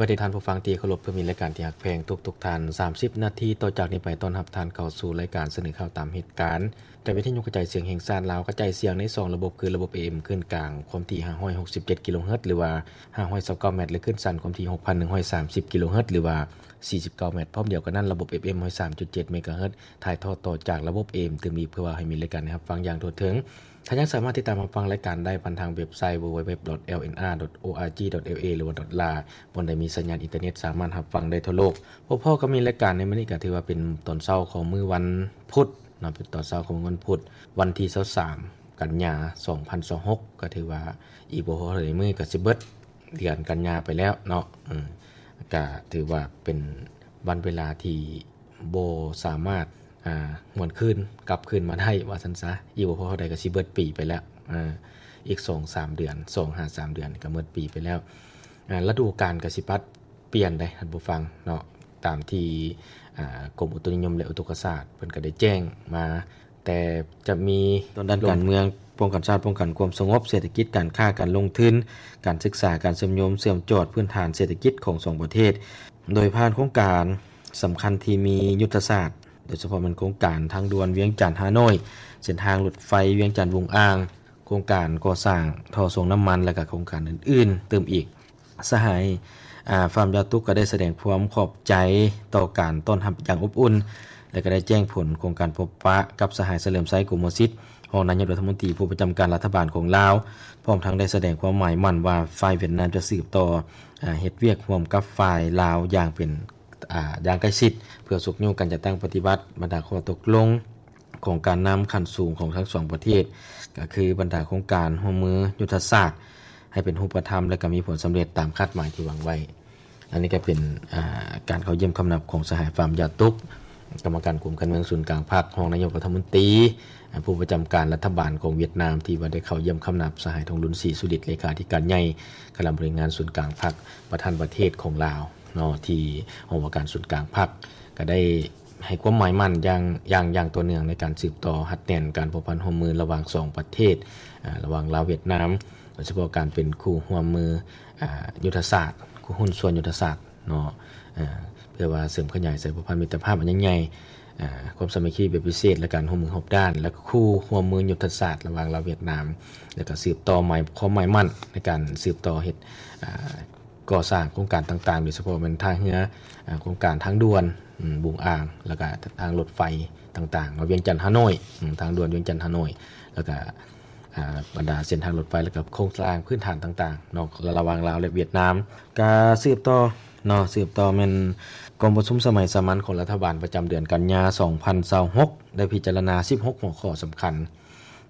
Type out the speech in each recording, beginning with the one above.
ປະເດດທ່ານຜູ້ຟັງທີ່ເຄົາລົບ ເພື່ອມີລາຍການທີ່ຮັກແພງທຸກໆທ່ານ ສາມສິບນາທີຕໍ່ຈາກນີ້ໄປ ຕ້ອນຮັບທ່ານເຂົ້າສູ່ລາຍການສະເໜີຂ່າວຕາມເຫດການ ຈາກວິທະຍຸກະຈາຍສຽງແຫ່ງຊາດລາວ ກະຈາຍສຽງໃນສອງລະບົບ ຄືລະບົບ ເອເອັມ ຄື້ນກາງຄວາມຖີ່ຫ້າຮ້ອຍຫົກສິບເຈັດກິໂລເຮີດ ຫຼືວ່າຫ້າຮ້ອຍຊາວເກົ້າແມັດ ແລະ ຄື້ນສັ້ນຄວາມຖີ່ຫົກພັນໜຶ່ງຮ້ອຍສາມສິບກິໂລເຮີດ ຫຼືວ່າສີ່ສິບເກົ້າແມັດ ພ້ອມດຽວກັນນັ້ນ ລະບົບ ເອຟເອັມ ຮ້ອຍສາມຈຸດເຈັດເມກະເຮີດ ຖ່າຍທອດຕໍ່ຈາກລະບົບ ເອເອັມ ຕື່ມອີກ ເພື່ອວ່າໃຫ້ມີລາຍການໃຫ້ຮັບຟັງຢ່າງທົ່ວເຖິງ. ທ່ານຍັງສາມາດຕິດຕາມຮັບຟັງລາຍການໄດ້ຜ່ານທາງເວັບໄຊ ดัບເບິນຢູດັບເບິນຢູດັບເບິນຢູ ດອດ ແອລເອັນອາ ດອດ ໂອອາຈີ ດອດ ແອລເອ ຫຼືວ່າ ດອດ ລາ ບ່ອນໃດມີສັນຍານອິນເຕີເນັດສາມາດຮັບຟັງໄດ້ທົ່ວໂລກ. ພໍ້ໆກັບມີລາຍການໃນມື້ນີ້ ກໍຖືວ່າເປັນຕອນເຊົ້າຂອງມື້ວັນພຸດເນາະ ເປັນຕອນເຊົ້າຂອງມື້ວັນພຸດ ວັນທີຊາວສາມ ກັນຍາ ສອງພັນຊາວຫົກ ກໍຖືວ່າອີກບໍ່ພໍເທົ່າໃດມື້ກໍຊິເບິດເດືອນກັນຍາໄປແລ້ວເນາະ. ເອີ ກໍຖືວ່າເປັນວັນເວລາທີ່ບໍ່ສາມາດ ອ່າ ຫວນຄືນກັບຄືນມາໄດ້ວ່າຊັ້ນຊະ ອີກບໍ່ພໍເທົ່າໃດກໍຊິເບິດປີໄປແລ້ວ ອ່າ ອີກສອງສາມເດືອນ ສອງຫາສາມເດືອນກໍເບິດປີໄປແລ້ວ. ອ່າ ລະດູການກໍຊິປັດປ່ຽນໄດ໋ທ່ານຜູ້ຟັງເນາະ ຕາມທີ່ ອ່າ ກົມອຸຕຸນິຍົມ ແລະ ອຸທົກກະສາດເພິ່ນກໍໄດ້ແຈ້ງມາ ແຕ່ຈະມີ ດ້ານການເມືອງ, ປ້ອງກັນຊາດ, ປ້ອງກັນຄວາມສະຫງົບ, ເສດຖະກິດ, ການຄ້າ, ການລົງທຶນ, ການສຶກສາ, ການເຊື່ອມໂຍງ, ເຊື່ອມຈອດພື້ນຖານເສດຖະກິດຂອງສອງປະເທດ ໂດຍຜ່ານໂຄງການສຳຄັນທີ່ມີຍຸດທະສາດ ໂດຍສະເພາະແມ່ນໂຄງການທາງດ່ວນວຽງຈັນ-ຮ່າໂນ້ຍ, ເສັ້ນທາງລົດໄຟວຽງຈັນ-ວຸງອ່າງ, ໂຄງການກໍ່ສ້າງທໍ່ສົ່ງນ້ຳມັນ ແລະ ກະໂຄງການອື່ນໆຕື່ມອີກ. ສະຫາຍ ອ່າ ຟາມຢາຕຸກກໍໄດ້ສະແດງຄວາມຂອບໃຈຕໍ່ການຕ້ອນຮັບຢ່າງອົບອຸ່ນ ແລະ ກໍໄດ້ແຈ້ງຜົນຂອງການພົບປະກັບສະຫາຍ ສະເຫຼີມໄຊ ກົມມະສິດ ຮອງນາຍົກລັດຖະມົນຕີຜູ້ປະຈຳການລັດຖະບານຂອງລາວ, ພ້ອມທັງໄດ້ສະແດງຄວາມໝາຍໝັ້ນວ່າ ຝ່າຍຫວຽດນາມຈະສືບຕໍ່ ອ່າ ເຮັດວຽກຮ່ວມກັບຝ່າຍລາວຢ່າງເປັນ ອ່າ ຢ່າງໃກ້ຊິດ ເພື່ອຊຸກຍູ້ການຈັດຕັ້ງປະຕິບັດບັນດາຂໍ້ຕົກລົງຂອງການນຳຂັ້ນສູງຂອງທັງສອງປະເທດ, ກໍຄືບັນດາໂຄງການຮ່ວມມືຍຸດທະສາດ ໃຫ້ເປັນຮູບປະທຳ ແລະ ກໍມີຜົນສຳເລັດຕາມຄາດໝາຍທີ່ຫວັງໄວ້. ອັນນີ້ກໍເປັນ ອ່າ ການເຂົ້າຢ້ຽມຄຳນັບຂອງສະຫາຍ ຟາມຢາຕຸກ ກຳມະການກົມການເມືອງສູນກາງພັກ, ຮອງນາຍົກລັດຖະມົນຕີ ອ່າ ຜູ້ປະຈຳການລັດຖະບານຂອງຫວຽດນາມ ທີ່ວ່າໄດ້ເຂົ້າຢ້ຽມຄຳນັບສະຫາຍ ທອງລຸນ ສີສຸລິດ ເລຂາທິການໃຫຍ່ຄະນະບໍລິຫານງານສູນກາງພັກ ປະທານປະເທດຂອງລາວເນາະ ທີ່ຫ້ອງວ່າການສູນກາງພັກ ກໍໄດ້ໃຫ້ຄວາມໝາຍໝັ້ນຢ່າງ ຢ່າງ ຢ່າງຕໍ່ເນື່ອງໃນການສືບຕໍ່ຮັດແໜ້ນການພົວພັນຮ່ວມມືລະຫວ່າງສອງປະເທດ ອາ ລະຫວ່າງລາວຫວຽດນາມ ໂດຍສະເພາະການເປັນຄູ່ຮ່ວມມື ອາ ຍຸດທະສາດ ຄູ່ຫຸ້ນສ່ວນຍຸດທະສາດເນາະ ອາ ເພື່ອວ່າເສີມຂະຫຍາຍສາຍພົວພັນມິດຕະພາບອັນຍິ່ງໃຫຍ່ ອາ ຄວາມສາມັກຄີແບບພິເສດ ແລະ ການຮ່ວມມືຮອບດ້ານ ແລະ ຄູ່ຮ່ວມມືຍຸດທະສາດລະຫວ່າງລາວຫວຽດນາມ ແລະ ກໍສືບຕໍ່ໝາຍ ຄວາມໝາຍໝັ້ນໃນການສືບຕໍ່ເຮັດ ອາ ກໍ່ສ້າງໂຄງການຕ່າງໆ ໂດຍສະເພາະແມ່ນທ່າເຮືອ ອາ ໂຄງການທາງດ່ວນ ອາ ບຸງອ່າງ ແລ້ວກະທາງລົດໄຟຕ່າງໆເນາະ ວຽງຈັນ-ຮ່າໂນ້ຍ ອາ ທາງດ່ວນວຽງຈັນ-ຮ່າໂນ້ຍ ແລ້ວກະ ອາ ບັນດາເສັ້ນທາງລົດໄຟ ແລ້ວກະໂຄງລ່າງພື້ນຖານຕ່າງໆເນາະ ລະຫວ່າງລາວ ແລະ ຫວຽດນາມ. ກະສືບຕໍ່ເນາະ ສືບຕໍ່ແມ່ນກອງປະຊຸມສະໄໝສາມັນຂອງລັດຖະບານປະຈຳເດືອນກັນຍາ ສອງພັນຊາວຫົກ ໄດ້ພິຈາລະນາ ສິບຫົກຫົວຂໍ້ສຳຄັນ.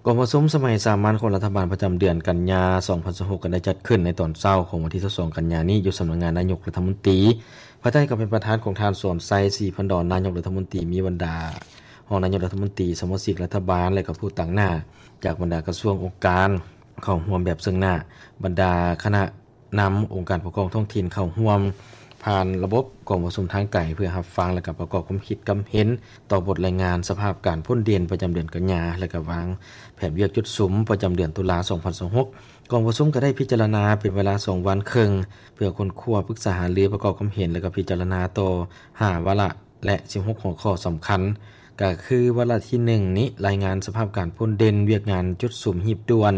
ກອງປະຊຸມສະໄໝສາມັນຂອງລັດຖະບານປະຈຳເດືອນກັນຍາ ສອງພັນຊາວຫົກ ກໍໄດ້ຈັດຂຶ້ນໃນຕອນເຊົ້າຂອງວັນທີ ຊາວສອງ ກັນຍານີ້ ຢູ່ສຳນັກງານນາຍົກລັດຖະມົນຕີ ພາຍໃຕ້ການເປັນປະທານຂອງທ່ານ ສອນໄຊ ສີພັນດອນ ນາຍົກລັດຖະມົນຕີ ມີບັນດາຮອງນາຍົກລັດຖະມົນຕີ, ສະມາຊິກລັດຖະບານ ແລະ ກໍຜູ້ຕາງໜ້າຈາກບັນດາກະຊວງ, ອົງການເຂົ້າຮ່ວມແບບເຊິ່ງໜ້າ, ບັນດາຄະນະ ນຳອົງການປົກຄອງທ້ອງຖິ່ນເຂົ້າຮ່ວມຜ່ານລະບົບກອງປະຊຸມທາງໄກ ເພື່ອຮັບຟັງ ແລະ ກະປະກອບຄວາມຄິດຄວາມເຫັນຕໍ່ບົດລາຍງານສະພາບການພົ້ນເດັ່ນປະຈຳເດືອນກັນຍາ ແລະ ກະວາງແຜນວຽກຈຸດສຸມປະຈຳເດືອນຕຸລາ ສອງພັນຊາວຫົກ. ກອງປະຊຸມກະໄດ້ພິຈາລະນາເປັນເວລາສອງວັນເຄິ່ງ ເພື່ອຄົ້ນຄວ້າ, ປຶກສາຫາລື, ປະກອບຄວາມເຫັນ ແລະ ກະພິຈາລະນາຕໍ່ຫ້າວາລະ ແລະ ສິບຫົກຫົວຂໍ້ສຳຄັນ ກະຄືວາລະທີໜຶ່ງນີ້ ລາຍງານສະພາບການພົ້ນເດັ່ນວຽກງານຈຸດສຸມຮີບດ່ວນ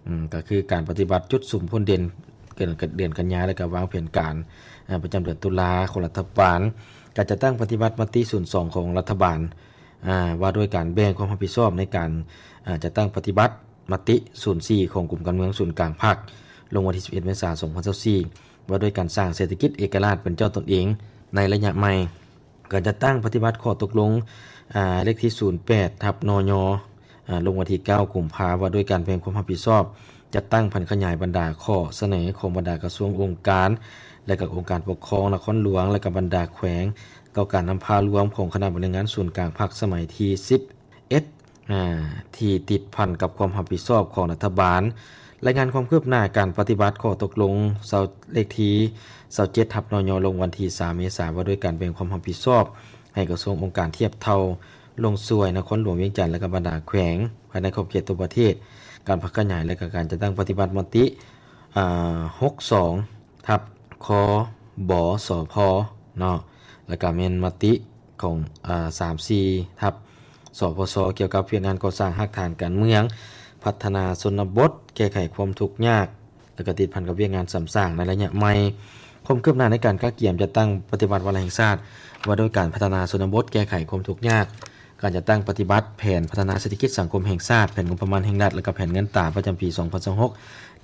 ອາ ກະຄືການປະຕິບັດຈຸດສຸມພົ້ນເດັ່ນເດືອນກັນຍາ ແລະ ກະວາງແຜນການ ອາ ປະຈຳເດືອນຕຸລາຂອງລັດຖະບານ, ການຈັດຕັ້ງປະຕິບັດມະຕິສູນສອງຂອງລັດຖະບານ ອາ ວ່າດ້ວຍການແບ່ງຄວາມຮັບຜິດຊອບໃນການ ອາ ຈັດຕັ້ງປະຕິບັດມະຕິສູນສີ່ຂອງກົມການເມືອງສູນກາງພັກ ລົງວັນທີ ສິບເອັດ ເມສາ ສອງພັນຊາວສີ່ ວ່າດ້ວຍການສ້າງເສດຖະກິດເອກະລາດເປັນເຈົ້າຕົນເອງໃນໄລຍະໃໝ່. ການຈັດຕັ້ງປະຕິບັດຂໍ້ຕົກລົງ ອາ ເລກທີ ສູນແປດ ທັບ ນຍ ອາ ລົງວັນທີ ເກົ້າ ກຸມພາ ວ່າດ້ວຍການແບ່ງຄວາມຮັບຜິດຊອບ ຈັດຕັ້ງຜັນຂະຫຍາຍບັນດາຂໍ້ສະເໜີຂອງບັນດາກະຊວງ, ອົງການ ແລະ ກະອົງການປົກຄອງນະຄອນຫຼວງ ແລະ ກະບັນດາແຂວງ ຕໍ່ການນຳພາລວມຂອງຄະນະບໍລິຫານງານສູນກາງພັກສະໄໝທີ ສິບເອັດ ອາ ທີ່ຕິດພັນກັບຄວາມຮັບຜິດຊອບຂອງລັດຖະບານ. ລາຍງານຄວາມຄືບໜ້າການປະຕິບັດຂໍ້ຕົກລົງ ເລກທີ ຊາວເຈັດ ທັບ ນຍ ລົງວັນທີ ສາມ ເມສາ ວ່າດ້ວຍການແບ່ງຄວາມຮັບຜິດຊອບໃຫ້ກະຊວງ, ອົງການທຽບເທົ່າລົງຊ່ວຍນະຄອນຫຼວງວຽງຈັນ ແລະ ກະບັນດາແຂວງພາຍໃນຂອບເຂດທົ່ວປະເທດ, ການຜັນຂະຫຍາຍ ແລະ ກະການຈັດຕັ້ງປະຕິບັດມະຕິ ອາ ຫົກສອງ ທັບ ຄ ບສພ ເນາະ ແລ້ວກໍແມ່ນມະຕິຂອງ ອາ ສາມສີ່ ທັບ ສພຊ ກ່ຽວກັບວຽກງານກໍ່ສ້າງຮາກຖານການເມືອງ, ພັດທະນາຊົນນະບົດ, ແກ້ໄຂຄວາມທຸກຍາກ ແລ້ວກໍຕິດພັນກັບວຽກງານສ້ຳສ້າງໃນໄລຍະໃໝ່. ຄວາມຄືບໜ້າໃນການກະກຽມຈັດຕັ້ງປະຕິບັດວາລະແຫ່ງຊາດວ່າດ້ວຍການພັດທະນາຊົນນະບົດ, ແກ້ໄຂຄວາມທຸກຍາກ, ການຈັດຕັ້ງປະຕິບັດແຜນພັດທະນາເສດຖະກິດສັງຄົມແຫ່ງຊາດ, ແຜນງົບປະມານແຫ່ງລັດ ແລະ ກະແຜນເງິນຕາປະຈຳປີສອງພັນຊາວຫົກ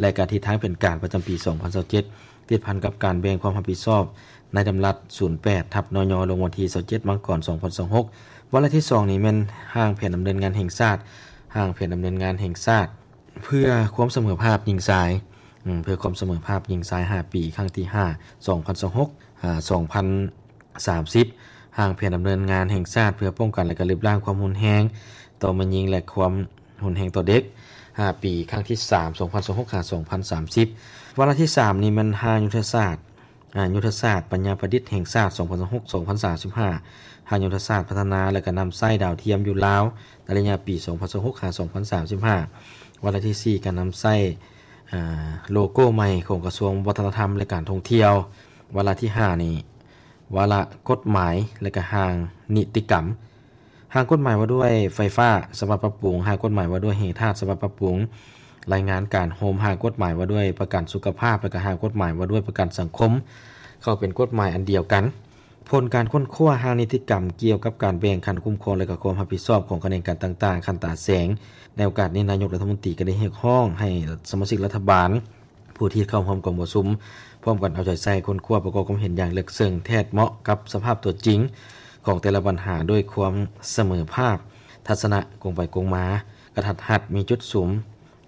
ແລະ ກະທິດທາງແຜນການປະຈຳປີສອງພັນຊາວເຈັດ ຕິດພັນກັບການແບ່ງຄວາມຮັບຜິດຊອບໃນດຳລັດສູນແປດ ທັບ ນຍ ລົງວັນທີຊາວເຈັດ ມັງກອນ ສອງພັນຊາວຫົກ. ວາລະທີສອງນີ້ແມ່ນຮ່າງແຜນດຳເນີນງານແຫ່ງຊາດ, ຮ່າງແຜນດຳເນີນງານແຫ່ງຊາດເພື່ອຄວາມສະເໝີພາບຍິງຊາຍ, ເພື່ອຄວາມສະເໝີພາບຍິງຊາຍ ຫ້າປີ ຄັ້ງທີຫ້າ ສອງພັນຊາວຫົກ ຫາ ສອງພັນ ສາມສິບ ຮ່າງແຜນດຳເນີນງານແຫ່ງຊາດເພື່ອປ້ອງກັນ ແລະ ກະລຶບລ້າງຄວາມຮຸນແຮງຕໍ່ແມ່ຍິງ ແລະ ຄວາມຮຸນແຮງຕໍ່ເດັກ ຫ້າປີ ຄັ້ງທີສາມ ສອງພັນຊາວຫົກ ຫາ ສອງພັນສາມສິບ. ວາລະທີສາມນີ້ແມ່ນຮ່າງຍຸດທະສາດ ອາ ຍຸດທະສາດປັນຍາປະດິດແຫ່ງຊາດ ສອງພັນຊາວຫົກ ສອງພັນສາມສິບຫ້າ, ຮ່າງຍຸດທະສາດພັດທະນາ ແລະ ກະນຳໃຊ້ດາວທຽມຢູ່ລາວ ໃນໄລຍະປີ ສອງພັນຊາວຫົກ ຫາ ສອງພັນສາມສິບຫ້າ. ວາລະທີສີ່ ກະນຳໃຊ້ ອາ ໂລໂກ້ໃໝ່ຂອງກະຊວງວັດທະນະທຳ ແລະ ການທ່ອງທ່ຽວ. ວາລະທີຫ້ານີ້ ວາລະກົດໝາຍ ແລະ ກະຮ່າງນິຕິກຳ, ຮ່າງກົດໝາຍວ່າດ້ວຍໄຟຟ້າສະບັບປັບປຸງ, ຮ່າງກົດໝາຍວ່າດ້ວຍແຮ່ທາດສະບັບປັບປຸງ, ລາຍງານການໂຮມ, ຮ່າງກົດໝາຍວ່າດ້ວຍປະກັນສຸຂະພາບ ແລະ ກະຮ່າງກົດໝາຍວ່າດ້ວຍປະກັນສັງຄົມ ເຂົ້າເປັນກົດໝາຍອັນດຽວກັນ. ຜົນການຄົ້ນຄວ້າຮ່າງນິຕິກຳກ່ຽວກັບການແບ່ງຂັ້ນຄຸ້ມຄອງ ແລະ ກະຄວາມຮັບຜິດຊອບຂອງຂະແໜງການຕ່າງໆ ຂັ້ນຕາແສງ. ໃນໂອກາດນີ້ ນາຍົກລັດຖະມົນຕີກະໄດ້ຮຽກຮ້ອງໃຫ້ສະມາຊິກລັດຖະບານ ຜູ້ທີ່ເຂົ້າຮ່ວມກອງປະຊຸມ ພ້ອມກັນເອົາໃຈໃສ່ຄົ້ນຄວ້າປະກອບຄວາມເຫັນຢ່າງເລິກເຊິ່ງ ແທດເໝາະກັບສະພາບຕົວຈິງຂອງແຕ່ລະບັນຫາ ດ້ວຍຄວາມສະເໝີພາບ, ທັດສະນະກົງໄປກົງມາ, ກະທັດຮັດ, ມີຈຸດສຸມ,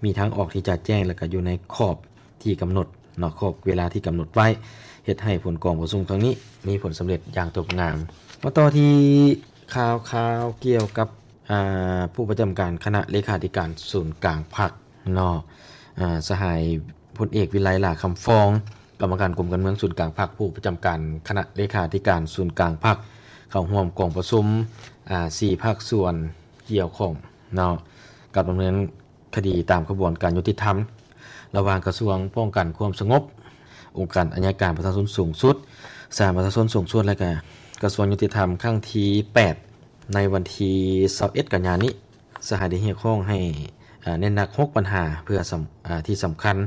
ມີທາງອອກທີ່ຈະແຈ້ງ ແລະ ກະຢູ່ໃນຂອບທີ່ກຳນົດເນາະ, ຂອບເວລາທີ່ກຳນົດໄວ້, ເຮັດໃຫ້ຜົນກອງປະຊຸມຄັ້ງນີ້ມີຜົນສຳເລັດຢ່າງຕົບງາມ. ມາຕໍ່ທີ່ຂ່າວຄາວກ່ຽວກັບ ອາ ຜູ້ປະຈຳການຄະນະເລຂາທິການສູນກາງພັກເນາະ, ອາ ສະຫາຍພົນເອກ ວິໄລ ຫຼ້າຄຳຟອງ, ກຳມະການກົມການເມືອງສູນກາງພັກ, ຜູ້ປະຈຳການຄະນະເລຂາທິການສູນກາງພັກ ເຂົ້າຮ່ວມກອງປະຊຸມ ອາ ສີ່ພາກສ່ວນກ່ຽວຂ້ອງເນາະ ກັບດຳເນີນຄະດີຕາມຂະບວນການຍຸຕິທຳ ລະຫວ່າງກະຊວງປ້ອງກັນຄວາມສະຫງົບ, ອົງການໄອຍະການປະຊາຊົນສູງສຸດ, ສານປະຊາຊົນສູງສຸດ ແລະ ກະກະຊວງຍຸຕິທຳ ຄັ້ງທີແປດ ໃນວັນທີຊາວເອັດ ກັນຍານີ້. ສະຫາຍໄດ້ຮຽກຮ້ອງໃຫ້ ອາ ເນັ້ນໜັກຫົກບັນຫາເພື່ອສຳ ອາ ທີ່ສຳຄັນ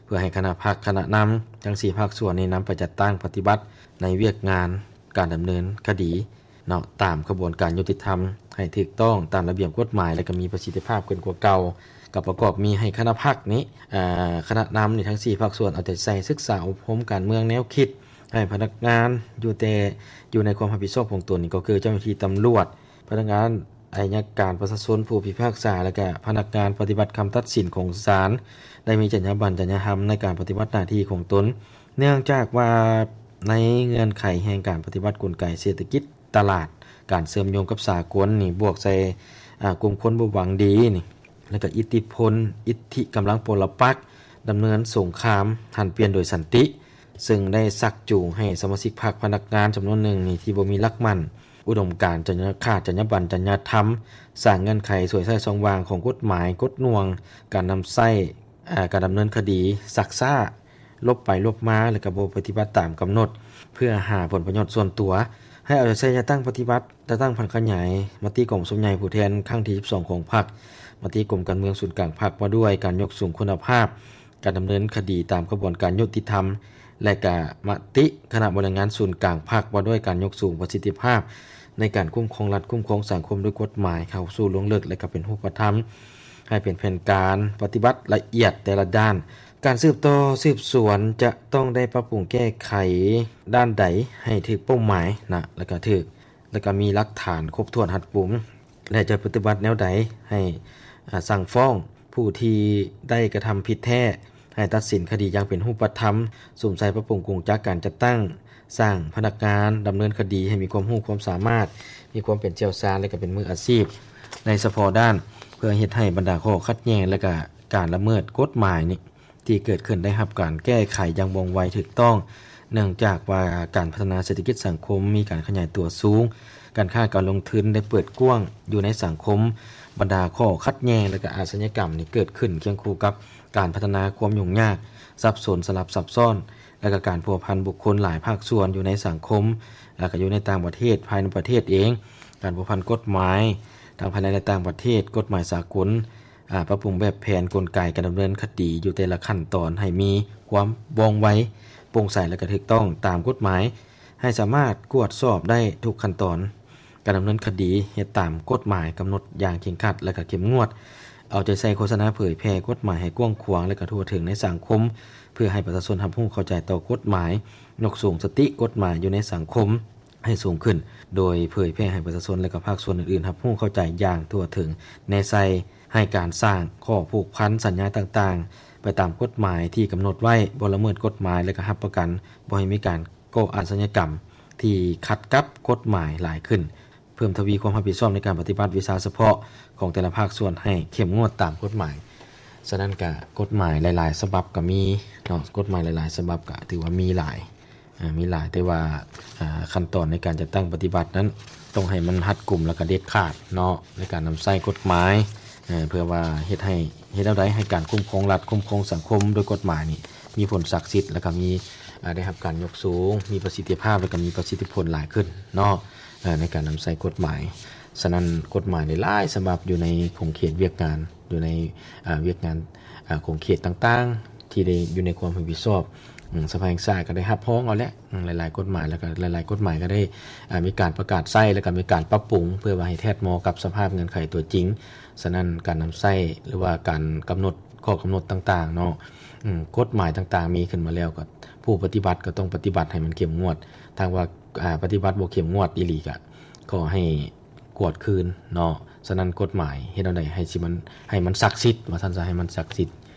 ເພື່ອໃຫ້ຄະນະພັກ, ຄະນະນຳທັງສີ່ພາກສ່ວນນີ້ນຳໄປຈັດຕັ້ງປະຕິບັດໃນວຽກງານການດຳເນີນຄະດີເນາະ ຕາມຂະບວນການຍຸຕິທຳ ໃຫ້ຖືກຕ້ອງຕາມລະບຽບກົດໝາຍ ແລະ ກະມີປະສິດທິພາບຂຶ້ນກວ່າເກົ່າ. ກະປະກອບມີໃຫ້ຄະນະພັກນີ້ ອາ ຄະນະນຳນີ້ທັງສີ່ພາກສ່ວນເອົາໃຈໃສ່ສຶກສາອົບຮົມການເມືອງແນວຄິດ ໃຫ້ພະນັກງານຢູ່ແຕ່ ຢູ່ໃນຄວາມຮັບຜິດຊອບຂອງຕົນ ກໍຄືເຈົ້າໜ້າທີ່ຕຳຫຼວດ, ພະນັກງານໄອຍະການປະຊາຊົນ, ຜູ້ພິພາກສາ ແລະ ກະພະນັກງານປະຕິບັດຄຳຕັດສິນຂອງສານ ໄດ້ມີຈັນຍາບັນ, ຈັນຍາທຳໃນການປະຕິບັດໜ້າທີ່ຂອງຕົນ. ເນື່ອງຈາກວ່າໃນເງື່ອນໄຂແຫ່ງການປະຕິບັດກົນໄກເສດຖະກິດຕະຫຼາດ, ການເຊື່ອມໂຍງກັບສາກົນນີ້ ບວກໃສ່ ອາ ກຸ່ມຄົນບໍ່ຫວັງດີນີ້ ແລະ ກະອິດທິພົນ, ອິດທິກຳລັງປົລະປັກ ດຳເນີນສົງຄາມຫັນປ່ຽນໂດຍສັນຕິ ເຊິ່ງໄດ້ຊັກຈູງໃຫ້ສະມາຊິກພັກ, ພະນັກງານຈຳນວນໜຶ່ງນີ້ ທີ່ບໍ່ມີຫຼັກໝັ້ນ ອຸດົມການ, ຈະຂາດຈັນຍາບັນ, ຈັນຍາທຳ, ສ້າງເງື່ອນໄຂສວຍໃຊ້ຊ່ອງວ່າງຂອງກົດໝາຍ, ກົດໜ່ວງການນຳໃຊ້ ອາ ການດຳເນີນຄະດີຊັກຊ້າ, ຫຼົບໄປຫຼົບມາ ແລະ ກະບໍ່ປະຕິບັດຕາມກຳນົດ ເພື່ອຫາຜົນປະໂຫຍດສ່ວນຕົວ. ໃຫ້ເອົາໃຈໃສ່ຈັດຕັ້ງປະຕິບັດ, ຈັດຕັ້ງຜັນຂະຫຍາຍມະຕິກອງປະຊຸມໃຫຍ່ຜູ້ແທນຄັ້ງທີສິບສອງຂອງພັກ, ມະຕິກົມການເມືອງສູນກາງພັກວ່າດ້ວຍການຍົກສູງຄຸນນະພາບການດຳເນີນຄະດີຕາມຂະບວນການຍຸຕິທຳ ແລະ ກະມະຕິຄະນະບໍລິຫານງານສູນກາງພັກວ່າດ້ວຍການຍົກສູງປະສິດທິພາບໃນການຄຸ້ມຄອງລັດ, ຄຸ້ມຄອງສັງຄົມດ້ວຍກົດໝາຍເຂົ້າສູ່ລວງເລິກ ແລະ ກະເປັນຮູບປະທຳ ໃຫ້ເປັນແຜນການປະຕິບັດລະອຽດແຕ່ລະດ້ານ. ການສືບຕໍ່ສືບສວນຈະຕ້ອງໄດ້ປັບປຸງແກ້ໄຂດ້ານໃດໃຫ້ຖືກເປົ້າໝາຍນະ ແລະ ກະຖືກ ແລະ ກະມີຫຼັກຖານຄົບຖ້ວນຮັດກຸມ ແລະ ຈະປະຕິບັດແນວໃດໃຫ້ ອາ ສັ່ງຟ້ອງຜູ້ທີ່ໄດ້ກະທຳຜິດແທ້ ໃຫ້ຕັດສິນຄະດີຢ່າງເປັນຮູບປະທຳ, ສຸມໃສ່ປັບປຸງກົງຈັກການຈັດຕັ້ງ, ສ້າງພະນັກງານດຳເນີນຄະດີໃຫ້ມີຄວາມຮູ້ຄວາມສາມາດ, ມີຄວາມເປັນຊ່ຽວຊານ ແລະ ກະເປັນມືອາຊີບໃນສະເພາະດ້ານ ເພື່ອເຮັດໃຫ້ບັນດາຂໍ້ຂັດແຍ່ງ ແລະ ກະການລະເມີດກົດໝາຍນີ້ ທີ່ເກີດຂຶ້ນໄດ້ຮັບການແກ້ໄຂຢ່າງວ່ອງໄວຖືກຕ້ອງ, ເນື່ອງຈາກວ່າການພັດທະນາເສດຖະກິດສັງຄົມມີການຂະຫຍາຍຕົວສູງ, ການຄ້າການລົງທຶນໄດ້ເປີດກວ້າງຢູ່ໃນສັງຄົມ, ບັນດາຂໍ້ຂັດແຍ່ງ ແລະ ກະອາຊະຍາກຳນີ້ເກີດຂຶ້ນຄຽງຄູ່ກັບການພັດທະນາຄວາມຫຍຸ້ງຍາກ, ສັບສົນ, ສະຫຼັບຊັບຊ້ອນ, ແລ ລະກະການພົວພັນບຸກຄົນຫຼາຍພາກສ່ວນຢູ່ໃນສັງຄົມ ລະກະຢູ່ໃນຕ່າງປະເທດ, ພາຍໃນປະເທດເອງ, ການພົວພັນກົດໝາຍທັງພາຍໃນ ແລະ ຕ່າງປະເທດ, ກົດໝາຍສາກົນ, ອາ, ປັບປຸງແບບແຜນກົນໄກການດຳເນີນຄະດີຢູ່ແຕ່ລະຂັ້ນຕອນໃຫ້ມີຄວາມວ່ອງໄວ, ໂປ່ງໃສ ແລະ ກະຖືກຕ້ອງຕາມກົດໝາຍ, ໃຫ້ສາມາດກວດສອບໄດ້ທຸກຂັ້ນຕອນການດຳເນີນຄະດີ, ເຮັດຕາມກົດໝາຍກຳນົດຢ່າງເຄັ່ງຄັດ ແລະ ກະເຂັ້ມງວດ, ເອົາໃຈໃສ່ໂຄສະນາເຜີຍແຜ່ກົດໝາຍໃຫ້ກວ້າງຂວາງ ແລະ ກະທົ່ວເຖິງໃນສັງຄົມ ເພື່ອໃຫ້ປະຊາຊົນຮັບຮູ້ເຂົ້າໃຈຕໍ່ກົດໝາຍ, ຍົກສູງສະຕິກົດໝາຍຢູ່ໃນສັງຄົມໃຫ້ສູງຂຶ້ນ, ໂດຍເຜີຍແຜ່ໃຫ້ປະຊາຊົນ ແລະ ກະພາກສ່ວນອື່ນໆຮັບຮູ້ເຂົ້າໃຈຢ່າງທົ່ວເຖິງ, ແນໃສ່ໃຫ້ການສ້າງຂໍ້ຜູກພັນສັນຍາຕ່າງໆ ໄປຕາມກົດໝາຍທີ່ກຳນົດໄວ້, ບໍ່ລະເມີດກົດໝາຍ ແລະ ກະຮັບປະກັນບໍ່ໃຫ້ມີການກໍ່ອາຊະຍາກຳທີ່ຂັດກັບກົດໝາຍຫຼາຍຂຶ້ນ. ເພີ່ມທະວີຄວາມຮັບຜິດຊອບໃນການປະຕິບັດວິຊາສະເພາະຂອງແຕ່ລະພາກສ່ວນໃຫ້ເຂັ້ມງວດຕາມກົດໝາຍ. ສະນັ້ນກະກົດໝາຍຫຼາຍໆສະບັບກະມີເນາະ, ກົດໝາຍຫຼາຍໆສະບັບກະຖືວ່າມີຫຼາຍ, ອາ, ມີຫຼາຍ, ແຕ່ວ່າ, ອາ, ຂັ້ນຕອນໃນການຈັດຕັ້ງປະຕິບັດນັ້ນ ຕ້ອງໃຫ້ມັນຮັດກຸມ ແລະ ກະເດັດຂາດເນາະ ໃນການນຳໃຊ້ກົດໝາຍ, ເພື່ອວ່າເຮັດໃຫ້, ເຮັດແນວໃດໃຫ້ການຄຸ້ມຄອງລັດ, ຄຸ້ມຄອງສັງຄົມໂດຍກົດໝາຍນີ້ ມີຜົນສັກສິດ ແລະ ກະມີ, ອາ, ໄດ້ຮັບການຍົກສູງ, ມີປະສິດທິພາບ ແລະ ກະມີປະສິດທິຜົນຫຼາຍຂຶ້ນເນາະ. ເອີ ໃນການນຳໃຊ້ກົດໝາຍ. ສະນັ້ນ ກົດໝາຍຫຼາຍໆສະບັບຢູ່ໃນຂົງເຂດວຽກງານ, ຢູ່ໃນ, ອາ, ວຽກງານ, ອາ, ຂົງເຂດຕ່າງໆ ທີ່ໄດ້ຢູ່ໃນຄວາມຮັບຜິດຊອບ, ອາ, ສະພາແຫ່ງຊາດກໍໄດ້ຮັບຮອງເອົາແຫຼະ, ອາ, ຫຼາຍໆກົດໝາຍ, ແລ້ວກໍຫຼາຍໆກົດໝາຍກໍໄດ້, ອາ, ມີການປະກາດໃຊ້ ແລ້ວກໍມີການປັບປຸງ ເພື່ອວ່າໃຫ້ແທດເໝາະກັບສະພາບເງື່ອນໄຂຕົວຈິງ. ສະນັ້ນ ການນຳໃຊ້ ຫຼືວ່າການກຳນົດ ຂໍ້ກຳນົດຕ່າງໆເນາະ, ອາ, ກົດໝາຍຕ່າງໆມີຂຶ້ນມາແລ້ວ ກໍຜູ້ປະຕິບັດກໍຕ້ອງປະຕິບັດໃຫ້ມັນເຂັ້ມງວດ. ຖ້າຫາກວ່າ, ອາ, ປະຕິບັດບໍ່ເຂັ້ມງວດອີ່ຫຼີ ກໍຂໍໃຫ້ ກວດຄືນເນາະ. ສະນັ້ນ ກົດໝາຍເຮັດແນວໃດໃຫ້ຊິມັນ, ໃຫ້ມັນສັກສິດ ວ່າຊັ້ນຊະ, ໃຫ້ມັນສັກສິດ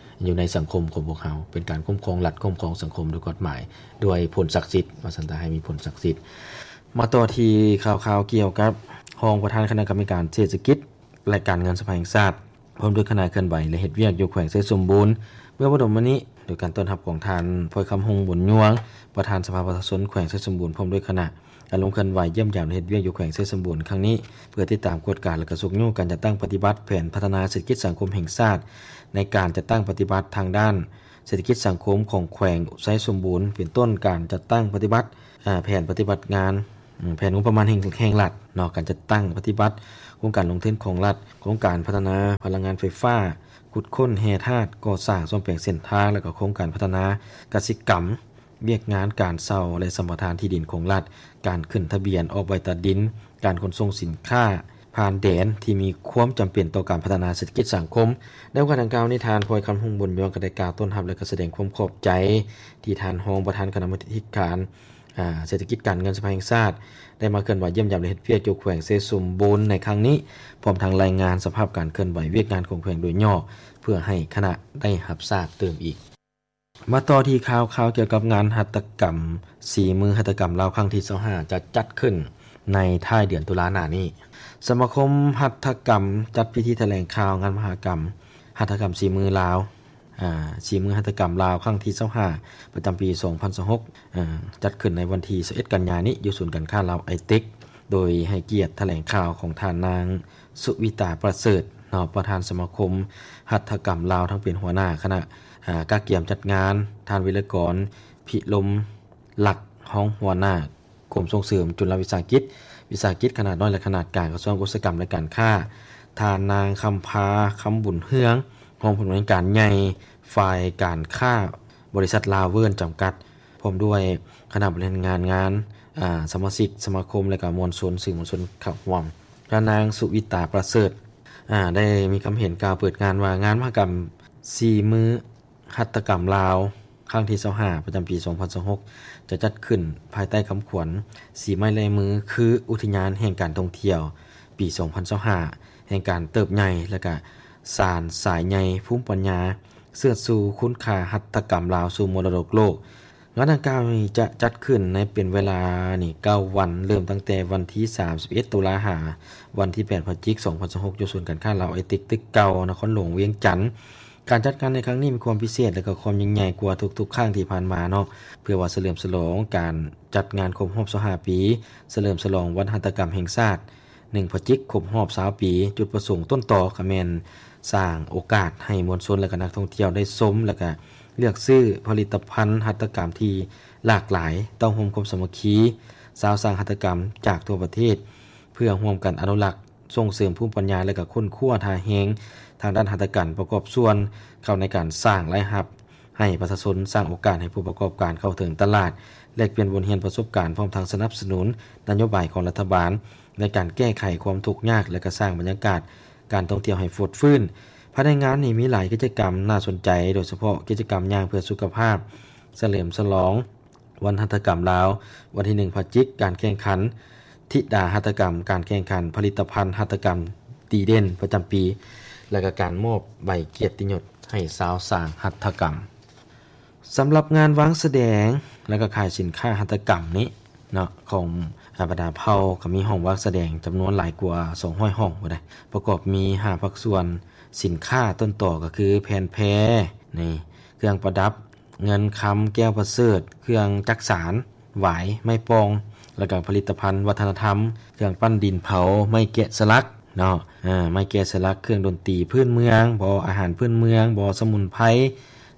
ຢູ່ໃນສັງຄົມຂອງພວກເຮົາ, ເປັນການຄຸ້ມຄອງລັດ, ຄຸ້ມຄອງສັງຄົມໂດຍກົດໝາຍ, ດ້ວຍຜົນສັກສິດ ວ່າຊັ້ນຊະ, ໃຫ້ມີຜົນສັກສິດ. ມາຕໍ່ທີ່ຂ່າວໆກ່ຽວກັບຮອງປະທານຄະນະກຳມະການເສດຖະກິດ ແລະ ການເງິນສະພາແຫ່ງຊາດ ພ້ອມດ້ວຍຄະນະເຄື່ອນໄຫວ ແລະ ເຮັດວຽກຢູ່ແຂວງໄຊສົມບູນ ເມື່ອບໍ່ດົນມານີ້ ໂດຍການຕ້ອນຮັບຂອງທ່ານ ພອຍຄຳ ຫົງບຸນຍວງ ປະທານສະພາປະຊາຊົນແຂວງໄຊສົມບູນ ພ້ອມດ້ວຍຄະນະ ໄດ້ລົງເຄື່ອນໄຫວຢ້ຽມຢາມ ແລະ ເຮັດວຽກຢູ່ແຂວງໄຊສົມບູນຄັ້ງນີ້ ເພື່ອຕິດຕາມກວດກາ ແລະ ກະຊຸກຍູ້ການຈັດຕັ້ງປະຕິບັດແຜນພັດທະນາເສດຖະກິດສັງຄົມແຫ່ງຊາດ ໃນການຈັດຕັ້ງປະຕິບັດທາງດ້ານເສດຖະກິດສັງຄົມຂອງແຂວງໄຊສົມບູນ ເປັນຕົ້ນການຈັດຕັ້ງປະຕິບັດ ອາ ແຜນປະຕິບັດງານ ອາ ແຜນງົບປະມານແຫ່ງ ແຫ່ງລັດເນາະ, ການຈັດຕັ້ງປະຕິບັດໂຄງການລົງທຶນຂອງລັດ, ໂຄງການພັດທະນາພະລັງງານໄຟຟ້າ, ຂຸດຄົ້ນແຮ່ທາດ, ກໍ່ສ້າງສ້ອມແປງເສັ້ນທາງ ແລະ ກໍໂຄງການພັດທະນາກະສິກຳ, ວຽກງານການເຊົ່າ ແລະ ສຳປະທານທີ່ດິນຂອງລັດ, ການຂຶ້ນທະບຽນອອກໃບຕາດິນ, ການຂົນສົ່ງສິນຄ້າຜ່ານແດນທີ່ມີຄວາມຈຳເປັນຕໍ່ການພັດທະນາເສດຖະກິດສັງຄົມ. ໃນໂອກາດດັ່ງກ່າວນີ້, ທ່ານ ພອຍຄຳ ຫົງບຸນຍວງ ກໍໄດ້ກ່າວຕ້ອນຮັບ ແລະ ກໍສະແດງຄວາມຂອບໃຈ ທີ່ທ່ານຮອງປະທານຄະນະກຳມາທິການ ອາ ເສດຖະກິດການເງິນສະພາແຫ່ງຊາດ ໄດ້ມາເຄື່ອນໄຫວຢ້ຽມຢາມ ແລະ ເຮັດວຽກຢູ່ແຂວງໄຊສົມບູນໃນຄັ້ງນີ້, ພ້ອມທັງລາຍງານສະພາບການເຄື່ອນໄຫວວຽກງານຂອງແຂວງໂດຍຫຍໍ້ ເພື່ອໃຫ້ຄະນະໄດ້ຮັບຊາບຕື່ມອີກ. ມາຕໍ່ທີ່ຂ່າວ, ຂ່າວກ່ຽວກັບງານຫັດຖະກຳສີມືຫັດຖະກຳລາວຄັ້ງທີຊາວຫ້າ ຈະຈັດຂຶ້ນໃນທ້າຍເດືອນຕຸລາໜ້ານີ້. ສະມາຄົມຫັດຖະກຳຈັດພິທີຖະແຫຼງຂ່າວງານມະຫະກຳຫັດຖະກຳສີມືລາວ ອາ ສີມືຫັດຖະກຳລາວຄັ້ງທີຊາວຫ້າ ປະຈຳປີສອງພັນຊາວຫົກ ອາ ຈັດຂຶ້ນໃນວັນທີຊາວເອັດ ກັນຍານີ້ ຢູ່ສູນການຄ້າລາວໄອເຕັກ ໂດຍໃຫ້ກຽດຖະແຫຼງຂ່າວຂອງທ່ານນາງ ສຸວິຕາ ປະເສີດ ເນາະ ປະທານສະມາຄົມຫັດຖະກຳລາວ ທັງເປັນຫົວໜ້າຄະນະ ອາ ກະກຽມຈັດງານ, ທ່ານ ວິລະກອນ ພິລົມລັກ ຮອງຫົວໜ້າ ກົມສົ່ງເສີມຈຸລະວິສາຫະກິດ, ວິສາຫະກິດຂະໜາດນ້ອຍ ແລະ ຂະໜາດກາງ ກະຊວງອຸດສາຫະກຳ ແລະ ການຄ້າ, ທ່ານນາງ ຄຳພາ ຄຳບຸນເຮືອງ ຮອງຜູ້ອຳນວຍການໃຫຍ່ຝ່າຍການຄ້າ ບໍລິສັດລາວເວີນ ຈຳກັດ, ພ້ອມດ້ວຍຄະນະບໍລິຫານງານງານ, ອາ, ສະມາຊິກສະມາຄົມ ແລະ ກະມວນຊົນ, ສື່ມວນຊົນເຂົ້າຮ່ວມ. ພະນາງ ສຸວິຕາ ປະເສີດ, ອາ, ໄດ້ມີຄຳເຫັນກ່າວເປີດງານວ່າ ງານມະຫະກຳສີມື ຫັດຖະກຳລາວ ຄັ້ງທີຊາວຫ້າ ປະຈຳປີສອງພັນຊາວຫົກ ຈະຈັດຂຶ້ນພາຍໃຕ້ຄຳຂວັນ ສີໄມ້ລາຍມືຄືອຸທິຍານແຫ່ງການທ່ອງທ່ຽວ ປີສອງພັນຊາວຫ້າ ແຫ່ງການເຕີບໃຫຍ່ ແລະ ກະສານສາຍໃຍພູມປັນຍາ ເຊີດຊູຄຸນຄ່າຫັດຖະກຳລາວສູ່ມໍລະດົກໂລກ. ງານດັ່ງກ່າວນີ້ຈະຈັດຂຶ້ນໃນເປັນເວລານີ້ເກົ້າວັນ, ເລີ່ມຕັ້ງແຕ່ວັນທີສາມສິບເອັດ ຕຸລາ ຫາວັນທີແປດ ພະຈິກ ສອງພັນຊາວຫົກ ຢູ່ສູນການຄ້າລາວໄອເຕັກ ຕຶກເກົ່າ ນະຄອນຫຼວງວຽງຈັນ. ການຈັດງານໃນຄັ້ງນີ້ມີຄວາມພິເສດ ແລະ ກໍຄວາມຍິ່ງໃຫຍ່ກວ່າທຸກໆຄັ້ງທີ່ຜ່ານມາເນາະ, ເພື່ອວ່າສະເຫຼີມສະຫຼອງການຈັດງານຄົບຮອບຊາວຫ້າປີ ສະເຫຼີມສະຫຼອງວັນຫັດຖະກຳແຫ່ງຊາດ ໜຶ່ງ ພະຈິກ ຄົບຮອບຊາວປີ. ຈຸດປະສົງຕົ້ນຕໍກໍແມ່ນສ້າງໂອກາດໃຫ້ມວນຊົນ ແລະ ກໍນັກທ່ອງທ່ຽວໄດ້ຊົມ ແລະ ກໍ ເລືອກຊື້ຜະລິດຕະພັນຫັດຖະກຳທີ່ຫຼາກຫຼາຍ, ຕ້ອງໂຮມຄວາມສາມັກຄີຊາວສ້າງຫັດຖະກຳຈາກທົ່ວປະເທດ ເພື່ອຮ່ວມກັນອະນຸລັກ, ສົ່ງເສີມພູມປັນຍາ ແລະ ກະຄົ້ນຄວ້າທ່າແຮງທາງດ້ານຫັດຖະກຳປະກອບສ່ວນເຂົ້າໃນການສ້າງລາຍຮັບໃຫ້ປະຊາຊົນ, ສ້າງໂອກາດໃຫ້ຜູ້ປະກອບການເຂົ້າເຖິງຕະຫຼາດ, ແລກປ່ຽນບົດຮຽນປະສົບການ, ພ້ອມທັງສະໜັບສະໜູນນະໂຍບາຍຂອງລັດຖະບານໃນການແກ້ໄຂຄວາມທຸກຍາກ ແລະ ກະສ້າງບັນຍາກາດການທ່ອງທ່ຽວໃຫ້ຟົດຟື້ນ. ພາຍໃນງານນີ້ມີຫຼາຍກິດຈະກຳໜ້າສົນໃຈ, ໂດຍສະເພາະກິດຈະກຳຍ່າງເພື່ອສຸຂະພາບ, ສະເຫຼີມສະຫຼອງ ວັນຫັດຖະກຳລາວ ວັນທີໜຶ່ງພະຈິກ, ການແຂ່ງຂັນທິດາຫັດຖະກຳ, ການແຂ່ງຂັນຜະລິດຕະພັນຫັດຖະກຳດີເດັ່ນປະຈຳປີ ແລະ ກະການມອບໃບກຽດຕິຍົດໃຫ້ຊາວສ້າງຫັດຖະກຳ. ສຳລັບງານວາງສະແດງ ແລະ ກະຂາຍສິນຄ້າຫັດຖະກຳນີ້ເນາະ ຂອງ ອາ ບັນດາເຜົ່າ ກະມີຫ້ອງວາງສະແດງຈຳນວນຫຼາຍກວ່າສອງຮ້ອຍຫ້ອງພຸ້ນໃດ໋ ປະກອບມີຫ້າພາກສ່ວນສິນຄ້າຕົ້ນຕໍ ກະຄືແຜ່ນແພ ນີ້ ເຄື່ອງປະດັບ, ເງິນຄຳ, ແກ້ວປະເສີດ, ເຄື່ອງຈັກສານ, ຫວາຍ, ໄມ້ປ່ອງ ແລ້ວກະຜະລິດຕະພັນວັດທະນະທຳ, ເຄື່ອງປັ້ນດິນເຜົາ, ໄມ້ແກະສະຫຼັກເນາະ ອາ ໄມ້ແກະສະຫຼັກ, ເຄື່ອງດົນຕີພື້ນເມືອງບໍ, ອາຫານພື້ນເມືອງບໍ, ສະໝຸນໄພ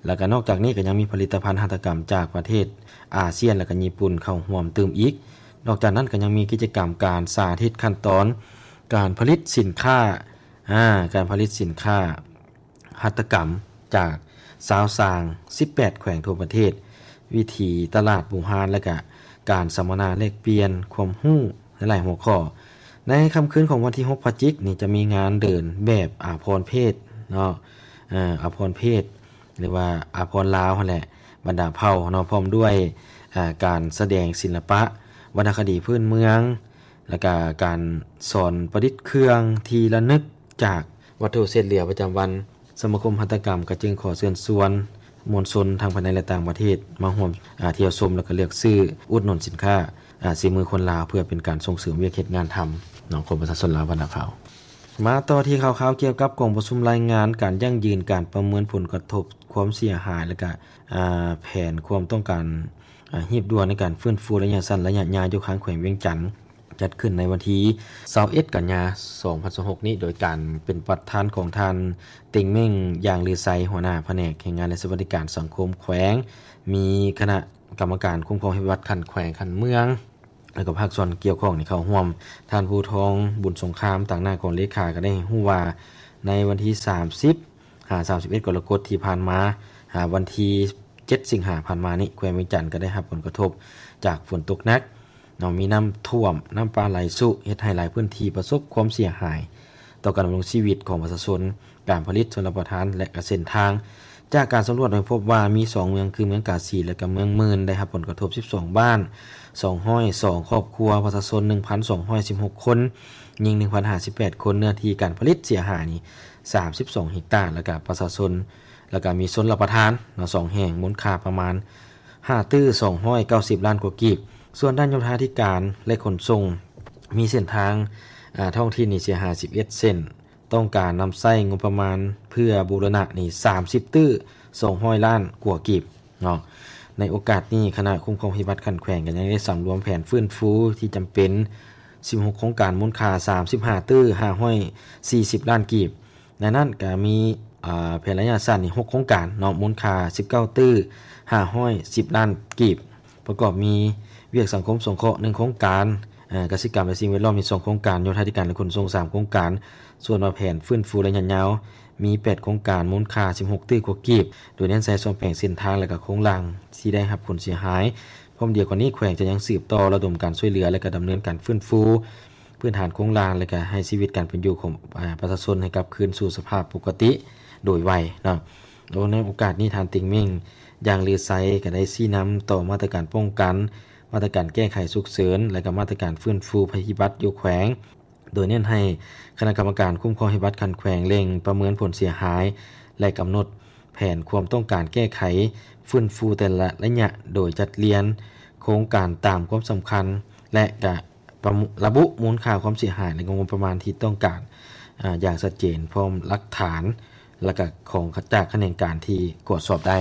ແລ້ວກະນອກຈາກນີ້ກະຍັງມີຜະລິດຕະພັນຫັດຖະກຳຈາກປະເທດອາຊຽນ ແລ້ວກະຍີ່ປຸ່ນເຂົ້າຮ່ວມຕື່ມອີກ. ນອກຈາກນັ້ນກະຍັງມີກິດຈະກຳການສາທິດຂັ້ນຕອນການຜະລິດສິນຄ້າ ອາ ການຜະລິດສິນຄ້າ ຫັດຖະກຳຈາກຊາວສ້າງສິບແປດແຂວງທົ່ວປະເທດ, ວິຖີຕະຫຼາດບູຮານ ແລະ ກະການສຳມະນາແລກປ່ຽນຄວາມຮູ້ຫຼາຍໆຫົວຂໍ້. ໃນຄ່ຳຄືນຂອງວັນທີຫົກພະຈິກນີ້ ຈະມີງານເດີນແບບອາພອນເພດເນາະ ເອີ ອາພອນເພດ ຫຼືວ່າອາພອນລາວຫັ້ນແຫຼະ ບັນດາເຜົ່າເນາະ ພ້ອມດ້ວຍ ອາ ການສະແດງສິລະປະ ວັນນະຄະດີພື້ນເມືອງ ແລ້ວກະການສອນປະດິດເຄື່ອງທີ່ລະນຶກຈາກວັດຖຸເສດເຫຼືອປະຈຳວັນ. ສະມາຄົມຫັດຖະກຳກະຈຶ່ງຂໍເຊີນຊວນມວນຊົນທັງພາຍໃນ ແລະ ຕ່າງປະເທດ ມາຮ່ວມ ອາ ທ່ຽວຊົມ ແລ້ວກະເລືອກຊື້ອຸດໜູນສິນຄ້າ ອາ ສີມືຄົນລາວ ເພື່ອເປັນການສົ່ງເສີມວຽກເຮັດງານທຳເນາະ ຂອງປະຊາຊົນລາວບ້ານນາເພົາ. ມາຕໍ່ທີ່ຂ່າວໆກ່ຽວກັບກອງປະຊຸມລາຍງານການຢັ້ງຢືນການປະເມີນຜົນກະທົບຄວາມເສຍຫາຍ ແລະ ກະ ອາ ແຜນຄວາມຕ້ອງການ ອາ ຮີບດ່ວນໃນການຟື້ນຟູໄລຍະສັ້ນ, ໄລຍະຍາວ ຢູ່ຂ້າງແຂວງວຽງຈັນ ຈັດຂຶ້ນໃນວັນທີຊາວເອັດ ກັນຍາ ສອງພັນຊາວຫົກນີ້ ໂດຍການເປັນປະທານຂອງທ່ານ ເຕັງເມັ້ງ ຢາງລືໄຊ ຫົວໜ້າພະແນກແຮງງານ ແລະ ສະຫວັດດີການສັງຄົມແຂວງ, ມີຄະນະກຳມະການຄຸ້ມຄອງເຫດພິບັດຂັ້ນແຂວງ, ຂັ້ນເມືອງ ແລ້ວກໍພາກສ່ວນກ່ຽວຂ້ອງນີ້ເຂົ້າຮ່ວມ. ທ່ານ ພູທອງ ບຸນສົງຄາມ ຕາງໜ້າກອງເລຂາ ກໍໄດ້ໃຫ້ຮູ້ວ່າ ໃນວັນທີສາມສິບ ຫາ ສາມສິບເອັດ ກໍລະກົດທີ່ຜ່ານມາ ຫາ ວັນທີເຈັດ ສິງຫາ ຜ່ານມານີ້ ແຂວງວຽງຈັນກໍໄດ້ຮັບຜົນກະທົບຈາກຝົນຕົກໜັກເນາະ, ມີນ້ຳຖ້ວມ, ນ້ຳປ່າໄຫຼຊຸ ເຮັດໃຫ້ຫຼາຍພື້ນທີ່ປະສົບຄວາມເສຍຫາຍຕໍ່ການດຳລົງຊີວິດຂອງປະຊາຊົນ, ການຜະລິດ, ຊົນລະປະທານ ແລະ ກະເສັ້ນທາງ. ຈາກການສຳຫຼວດໃຫ້ພົບວ່າມີສອງເມືອງ ຄືເມືອງກາສີ ແລະ ກະເມືອງໝື່ນ ໄດ້ຮັບຜົນກະທົບສິບສອງບ້ານ, ສອງຮ້ອຍສອງຄອບຄົວ, ປະຊາຊົນໜຶ່ງພັນສອງຮ້ອຍສິບຫົກຄົນ, ຍິງໜຶ່ງພັນຫ້າສິບແປດຄົນ, ເນື້ອທີ່ການຜະລິດເສຍຫາຍນີ້ ສາມສິບສອງເຮັກຕາ ແລ້ວກະປະຊາຊົນ ແລ້ວກະມີຊົນລະປະທານເນາະ ສອງແຫ່ງ ມູນຄ່າປະມານຫ້າຕື້ສອງຮ້ອຍເກົ້າສິບລ້ານກວ່າກີບ. ສ່ວນດ້ານໂຍທາທິການ ແລະ ຂົນສົ່ງ ມີເສັ້ນທາງ ອາ ທ້ອງຖິ່ນນີ້ເສຍຫາຍສິບເອັດເສັ້ນ, ຕ້ອງການນຳໃຊ້ງົບປະມານເພື່ອບູລະນະນີ້ສາມສິບຕື້ສອງຮ້ອຍລ້ານກວ່າກີບເນາະ. ໃນໂອກາດນີ້ ຄະນະຄຸ້ມຄອງເຫດພິບັດຂັ້ນແຂວງກໍຍັງໄດ້ສຳລວມແຜນຟື້ນຟູທີ່ຈຳເປັນສິບຫົກໂຄງການ ມູນຄ່າສາມສິບຫ້າຕື້ຫ້າຮ້ອຍສີ່ສິບລ້ານກີບ. ໃນນັ້ນກໍມີ ອາ ແຜນໄລຍະສັ້ນນີ້ຫົກໂຄງການເນາະ ມູນຄ່າສິບເກົ້າຕື້ຫ້າຮ້ອຍສິບລ້ານກີບ, ປະກອບມີວຽກສັງຄົມສົງເຄາະໜຶ່ງໂຄງການ, ອາ ກະສິກຳ ແລະ ສິ່ງແວດລ້ອມມີສອງໂຄງການ, ໂຍທາທິການ ແລະ ຂົນສົ່ງສາມໂຄງການ. ສ່ວນວ່າແຜນຟື້ນຟູໄລຍະຍາວມີແປດໂຄງການ ມູນຄ່າສິບຫົກຕື້ກວ່າກີບ, ໂດຍເນັ້ນໃສ່ສອງແປງເສັ້ນທາງ ແລະ ກະໂຄງລ່າງທີ່ໄດ້ຮັບຜົນເສຍຫາຍ. ພ້ອມດຽວກັນນີ້ ແຂວງຈະຍັງສືບຕໍ່ລະດົມການຊ່ວຍເຫຼືອ ແລະ ກະດຳເນີນການຟື້ນຟູພື້ນຖານໂຄງລ່າງ ແລະ ກະໃຫ້ຊີວິດການເປັນຢູ່ຂອງ ອາ ປະຊາຊົນໃຫ້ກັບຄືນສູ່ສະພາບປົກກະຕິໂດຍໄວເນາະ. ໂດຍໃນໂອກາດນີ້ ທ່ານ ເຕັງເມັ້ງ ຢາງລືໄຊ ກໍໄດ້ຊີ້ນຳຕໍ່ມາດຕະການປ້ອງກັນ, ມາດຕະການແກ້ໄຂສຸກເສີນ ແລະ ກໍມາດຕະການຟື້ນຟູໄພພິບັດຢູ່ແຂວງ, ໂດຍເນັ້ນໃຫ້ຄະນະກຳມະການຄຸ້ມຄອງເຫດພິບັດຂັ້ນແຂວງເລັ່ງປະເມີນຜົນເສຍຫາຍ ແລະ ກຳນົດແຜນຄວາມຕ້ອງການແກ້ໄຂຟື້ນຟູແຕ່ລະໄລຍະ, ໂດຍຈັດລຽນໂຄງການຕາມຄວາມສຳຄັນ ແລະ ກະ ປະ ລະບຸມູນຄ່າຄວາມເສຍຫາຍ ແລະ ງົບປະມານທີ່ຕ້ອງການ ອາ ຢ່າງຊັດເຈນ ພ້ອມຫຼັກຖານ ແລະ ກະຂອງ ຈາກຂະແໜງການທີ່ກວດສອບໄດ້.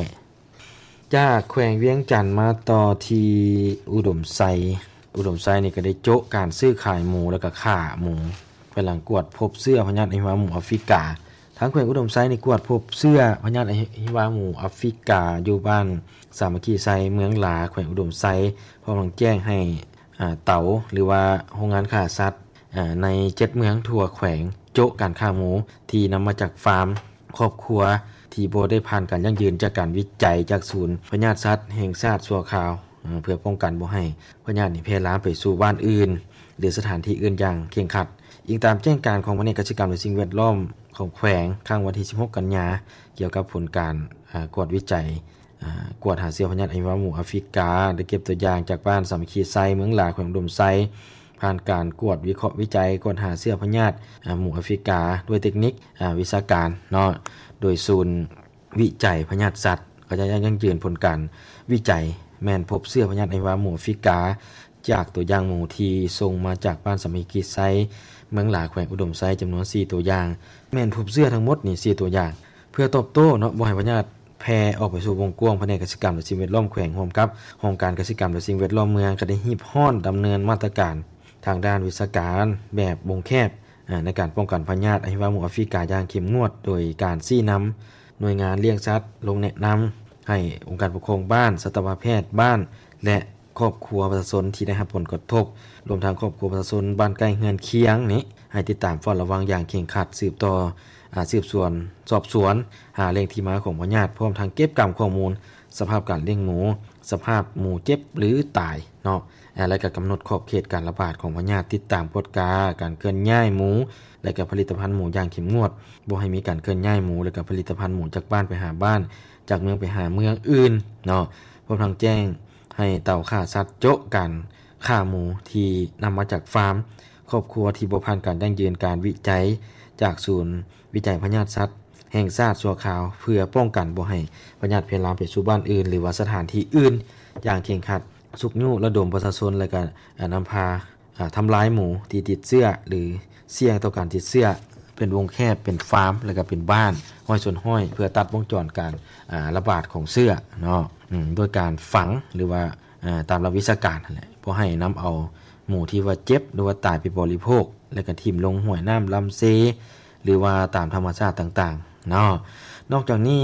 ຈາກແຂວງວຽງຈັນມາຕໍ່ທີ່ອຸດົມໄຊ. ອຸດົມໄຊນີ້ກໍໄດ້ໂຈະການຊື້ຂາຍໝູ ແລະ ກະຂ້າໝູ ພາຍຫຼັງກວດພົບເຊື້ອພະຍາດອະຫິວາໝູອາຟຣິກາ. ທາງແຂວງອຸດົມໄຊນີ້ກວດພົບເຊື້ອພະຍາດອະຫິວາໝູອາຟຣິກາ ຢູ່ບ້ານສາມັກຄີໄຊ ເມືອງຫຼາ ແຂວງອຸດົມໄຊ ພ້ອມທັງແຈ້ງໃຫ້ ອາ ເຕົາ ຫຼືວ່າໂຮງງານຂ້າສັດ ອາ ໃນເຈັດເມືອງທົ່ວແຂວງ ໂຈະການຂ້າໝູທີ່ນຳມາຈາກຟາມຄອບຄົວ ທີ່ບໍ່ໄດ້ຜ່ານການຢັ້ງຢືນຈາກການວິໄຈຈາກສູນພະຍາດສັດແຫ່ງຊາດຊົ່ວຄາວ ເພື່ອປ້ອງກັນບໍ່ໃຫ້ພະຍາດນີ້ແຜ່ລາມໄປສູ່ບ້ານອື່ນ ຫຼື ສະຖານທີ່ອື່ນຢ່າງເຄັ່ງຄັດ. ອີງຕາມແຈ້ງການຂອງພະແນກກະສິກຳ ແລະ ສິ່ງແວດລ້ອມຂອງແຂວງ ຄັ້ງວັນທີສິບຫົກ ກັນຍາ ກ່ຽວກັບຜົນການ ອາ ກວດວິໄຈ ອາ ກວດຫາເຊື້ອພະຍາດອະຫິວາໝູອາຟຣິກາ ໄດ້ເກັບຕົວຢ່າງຈາກບ້ານສາມັກຄີໄຊ ເມືອງຫຼາ ແຂວງອຸດົມໄຊ ຜ່ານການກວດວິເຄາະວິໄຈກວດຫາເຊື້ອພະຍາດ ອາ ໝູອາຟຣິກາ ດ້ວຍເຕັກນິກ ອາ ວິຊາການເນາະ ໂດຍສູນ ວິໄຈພະຍາດສັດ ກໍຈະຢັ້ງຢືນຜົນການວິໄຈ ແມ່ນພົບເຊື້ອພະຍາດອະຫິວາໝູອາຟຣິກາ ຈາກຕົວຢ່າງໝູທີ່ສົ່ງມາຈາກບ້ານສາມັກຄີໄຊ ເມືອງຫຼາ ແຂວງອຸດົມໄຊ ຈຳນວນສີ່ຕົວຢ່າງ ແມ່ນພົບເຊື້ອທັງໝົດນີ້ສີ່ຕົວຢ່າງ. ເພື່ອຕອບໂຕ້ເນາະ ບໍ່ໃຫ້ພະຍາດແຜ່ອອກໄປສູ່ວົງກວ້າງ ພະແນກກະສິກຳ ແລະ ສິ່ງແວດລ້ອມແຂວງ ຮ່ວມກັບຫ້ອງການກະສິກຳ ແລະ ສິ່ງແວດລ້ອມເມືອງ ກໍໄດ້ຮີບຮ້ອນດຳເນີນມາດຕະການທາງດ້ານວິຊາການແບບວົງແຄບ ອາ ໃນການປ້ອງກັນພະຍາດອະຫິວາໝູອາຟຣິກາຢ່າງເຂັ້ມງວດ ໂດຍການຊີ້ນຳໜ່ວຍງານລ້ຽງສັດ ລົງແນະນຳໃຫ້ອົງການປົກຄອງບ້ານ, ສັດຕະວະແພດບ້ານ ແລະ ຄອບຄົວປະຊາຊົນທີ່ໄດ້ຮັບຜົນກະທົບ, ລວມທັງຄອບຄົວປະຊາຊົນບ້ານໃກ້ເຮືອນຄຽງນີ້ ໃຫ້ຕິດຕາມເຝົ້າລະວັງຢ່າງເຄັ່ງຄັດ, ສືບຕໍ່ ອາ ສືບສວນສອບສວນ ຫາແຫຼ່ງທີ່ມາຂອງພະຍາດ, ພ້ອມທັງເກັບກຳຂໍ້ມູນສະພາບການລ້ຽງໝູ, ສະພາບໝູເຈັບ ຫຼື ຕາຍເນາະ ອາ ແລະ ກໍກຳນົດຂອບເຂດການລະບາດຂອງພະຍາດ, ຕິດຕາມກວດກາການເຄື່ອນຍ້າຍໝູ ແລະ ກໍຜະລິດຕະພັນໝູຢ່າງເຂັ້ມງວດ, ບໍ່ໃຫ້ມີການເຄື່ອນຍ້າຍໝູ ແລະ ກໍຜະລິດຕະພັນໝູຈາກບ້ານໄປຫາບ້ານ, ຈາກເມືອງໄປຫາເມືອງອື່ນເນາະ, ພ້ອມທັງແຈ້ງໃຫ້ເຕົາຂ້າສັດໂຈະການຂ້າໝູທີ່ນຳມາຈາກຟາມ, ຄອບຄົວທີ່ບໍ່ຜ່ານການຢັ້ງຢືນການວິໄຈຈາກສູນວິໄຈພະຍາດສັດ ແຫ່ງຊາດຊົ່ວຄາວ ເພື່ອປ້ອງກັນບໍ່ໃຫ້ພະຍາດແຜ່ລາມໄປສູ່ບ້ານອື່ນ ຫຼືວ່າສະຖານທີ່ອື່ນຢ່າງເຄັ່ງຄັດ, ຊຸກຍູ້ລະດົມປະຊາຊົນ ແລະ ກະ ອາ ນຳພາ ອາ ທຳລາຍໝູທີ່ຕິດເຊື້ອ ຫຼື ສ່ຽງຕໍ່ການຕິດເຊື້ອ ເປັນວົງແຄບ ເປັນຟາມ ແລະ ກະເປັນບ້ານ ຮ້ອຍສ່ວນຮ້ອຍ ເພື່ອຕັດວົງຈອນການ ອາ ລະບາດຂອງເຊື້ອເນາະ ອາ ໂດຍການຝັງ ຫຼືວ່າ ອາ ຕາມຫຼັກວິຊາການຫັ້ນແຫຼະ ບໍ່ໃຫ້ນຳເອົາໝູທີ່ວ່າເຈັບ ຫຼືວ່າຕາຍໄປບໍລິໂພກ ແລະ ກະຖິ້ມລົງຫ້ວຍນ້ຳລຳເຊ ຫຼືວ່າຕາມທຳມະຊາດຕ່າງໆເນາະ. ນອກຈາກນີ້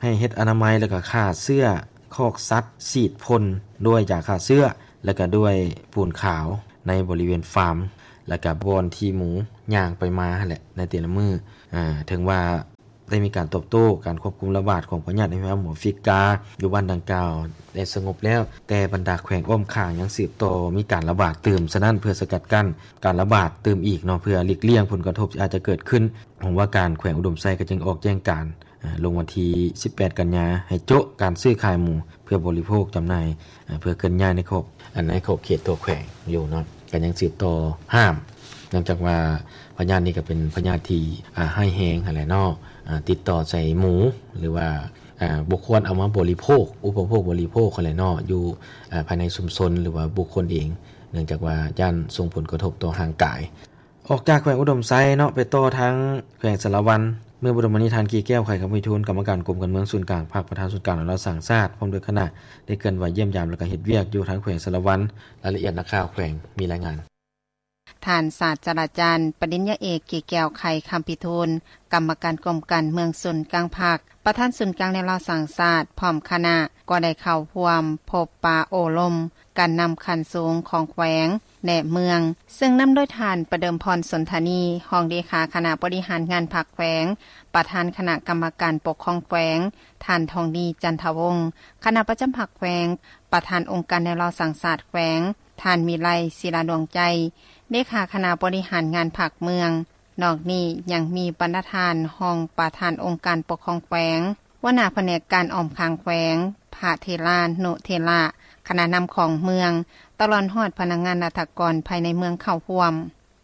ໃຫ້ເຮັດອະນາໄມ ແລະ ກະຂ້າເຊື້ອຄອກສັດ ສີດພົ່ນດ້ວຍຢາຂ້າເຊື້ອ ແລະ ກະດ້ວຍປູນຂາວໃນບໍລິເວນຟາມ ແລະ ກະບ່ອນທີ່ໝູຍ່າງໄປມາຫັ້ນແຫຼະ ໃນແຕ່ລະມື້. ອາ ເຖິງວ່າ ໄດ້ມີການຕອບໂຕ້ການຄວບຄຸມລະບາດຂອງພະຍາດອະຫິວາໝູອາຟຣິກາຢູ່ບ້ານດັ່ງກ່າວໄດ້ສະຫງົບແລ້ວ, ແຕ່ບັນດາແຂວງອ້ອມຂ້າງຍັງສືບຕໍ່ມີການລະບາດຕື່ມ. ສະນັ້ນ ເພື່ອສະກັດກັ້ນການລະບາດຕື່ມອີກເນາະ, ເພື່ອຫຼີກລ່ຽງຜົນກະທົບທີ່ອາດຈະເກີດຂຶ້ນ, ຫ້ອງວ່າການແຂວງອຸດົມໄຊກໍຈຶ່ງອອກແຈ້ງການ ອາ ລົງວັນທີສິບແປດ ກັນຍາ ໃຫ້ໂຈະການຊື້ຂາຍໝູ ເພື່ອບໍລິໂພກຈຳໜ່າຍ ເພື່ອເຄື່ອນຍ້າຍໃນຂອບ ອັນໃນຂອບເຂດຕົວແຂວງຢູ່ເນາະ ກໍຍັງສືບຕໍ່ຫ້າມ ເນື່ອງຈາກວ່າພະຍາດນີ້ກໍເປັນພະຍາດທີ່ ອາ ຮ້າຍແຮງຫັ້ນແຫຼະເນາະ ອາ ຕິດຕໍ່ໃສ່ໝູ ຫຼືວ່າ ອາ ບໍ່ຄວນເອົາມາບໍລິໂພກ ອຸປະໂພກບໍລິໂພກຫັ້ນແຫຼະເນາະ ຢູ່ ອາ ພາຍໃນຊຸມຊົນ ຫຼືວ່າບຸກຄົນເອງ ເນື່ອງຈາກວ່າຢ້ານສົ່ງຜົນກະທົບຕໍ່ຮ່າງກາຍ. ອອກຈາກແຂວງອຸດົມໄຊເນາະ ໄປຕໍ່ທາງແຂວງສາລະວັນ ເມື່ອບໍ່ດົນມານີ້ ທ່ານ ກີແກ້ວ ໄຂຄຳວິທູນ ກຳມະການກົມການເມືອງສູນກາງພັກ ປະທານສູນກາງແນວລາວສ້າງຊາດ ພ້ອມດ້ວຍຄະນະ ໄດ້ເຄື່ອນໄຫວຢ້ຽມຢາມ ແລະ ກະເຮັດວຽກຢູ່ທາງແຂວງສາລະວັນ. ລາຍລະອຽດນັກຂ່າວແຂວງມີລາຍງານ. ທ່ານສາດສະດາຈານ ປະລິນຍາເອກ ກີແກ້ວ ໄຂຄຳພິທູນ ກຳມະການກົມການເມືອງສູນກາງພັກ ປະທານສູນກາງແນວລາວສ້າງຊາດ ພ້ອມຄະນະ ກໍໄດ້ເຂົ້າຮ່ວມພົບປະໂອ້ລົມ ການນຳຂັ້ນສູງຂອງແຂວງ ແລະ ເມືອງ ເຊິ່ງນຳໂດຍທ່ານ ປະເດີມພອນ ສົນທານີ ຮອງເລຂາຄະນະບໍລິຫານງານພັກແຂວງ, ປະທານຄະນະກຳມະການປົກຄອງແຂວງ, ທ່ານ ທອງດີ ຈັນທະວົງ ຄະນະປະຈຳພັກແຂວງ, ປະທານອົງການແນວລາວສ້າງຊາດແຂວງ, ທ່ານ ວິໄລ ສີລາດວງໃຈ ເລຂາຄະນະບໍລິຫານງານພັກເມືອງ. ນອກນີ້ຍັງມີບັນດາທ່ານຮອງປະທານອົງການປົກຄອງແຂວງ, ຫົວໜ້າພະແນກການອ້ອມຂ້າງແຂວງ, ພະເຖລານຸເຖລະ, ຄະນະນຳຂອງເມືອງ, ຕະຫຼອດຮອດພະນັກງານລັດຖະກອນພາຍໃນເມືອງເຂົ້າຮ່ວມ.